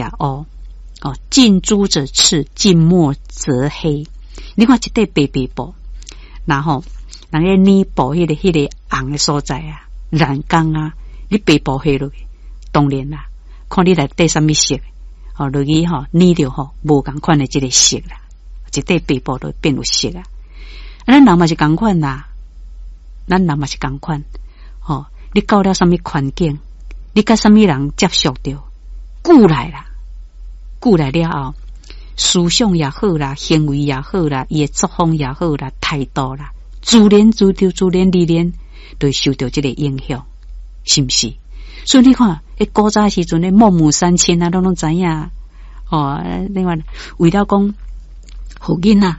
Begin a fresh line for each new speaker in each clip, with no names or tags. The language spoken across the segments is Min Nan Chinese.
烏。哦，近朱者赤，近墨者黑。你看一塊白白布，然後人咧染布彼個紅的所在啊，染工啊，你白布下落去，當然啦，看你內底啥物色，哦，落去吼染著吼無仝款的這个色啦，一塊白布就變有色啊。咱人嘛是仝款啦，咱人嘛是仝款，吼，你到了啥物環境，你佮啥物人接觸著，久來啦。久來了後，思想也好啦，行為也好啦，伊的作風也好啦，態度啦，自然自就自然而然，就會受著這個影響，是毋是？所以你看，彼古早時陣咧，孟母三遷啊，攏攏知影。哦，另外為了講，予囡仔，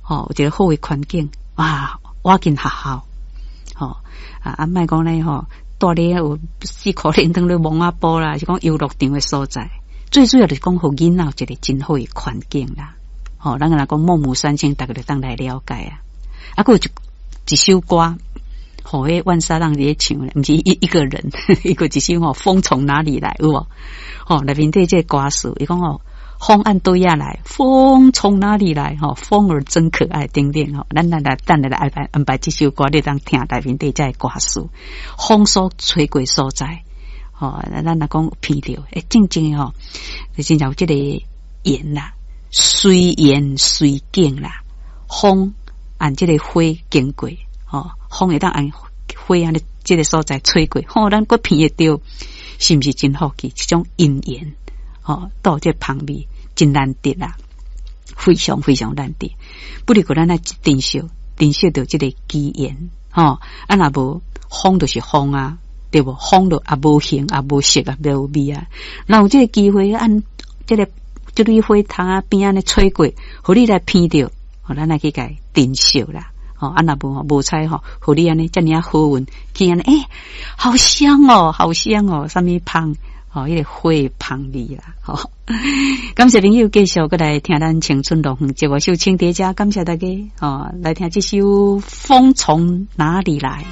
吼，有一個好的環境，哇，倚近學校，吼，啊，莫講咧吼，蹛咧有四箍連當咧摸仔埔啦，是講遊樂場的所在。最主要就是講，予囡仔有一個真好的環境啦。吼，咱若講孟母三遷，逐家就當來了解啊。啊，閣有一首歌，予彼萬沙浪佇咧唱咧，毋是一個人，一個一首吼，風從哪裡來有無？吼，內面底這個歌詞，伊講吼，風按佗仔來，風從哪裡來？吼，風兒真可愛，等等吼。咱來等下來安排安排這首歌，你當聽內面底這個歌詞，風所吹過所在。吼，咱若講聞著，欸，真正吼，真正有這個緣啦，隨緣隨境啦，風按這個花經過，吼，風會當按花按呢這個所在吹過，吼，咱閣聞會著，是毋是真福氣？這種因緣，吼，都有這個芳味真難得啦，非常非常難得。不如過咱來珍惜，珍惜著這個機緣，吼，啊若無風就是風啊。對無？風就也無形，也無色，也無味啊。若有這個機會，按這個這蕊花窗仔邊按呢吹過，予你來聞著，予咱來去共珍惜啦。吼，啊若無吼，無彩吼，予你按呢遮爾仔好運，去按呢，欸，好香哦，好香哦，啥物芳？吼，彼個花芳味啦。吼，感謝朋友繼續閣來聽咱青春樂園節目，秀清佇遮，感謝大家。吼，來聽這首《風從哪裡來》。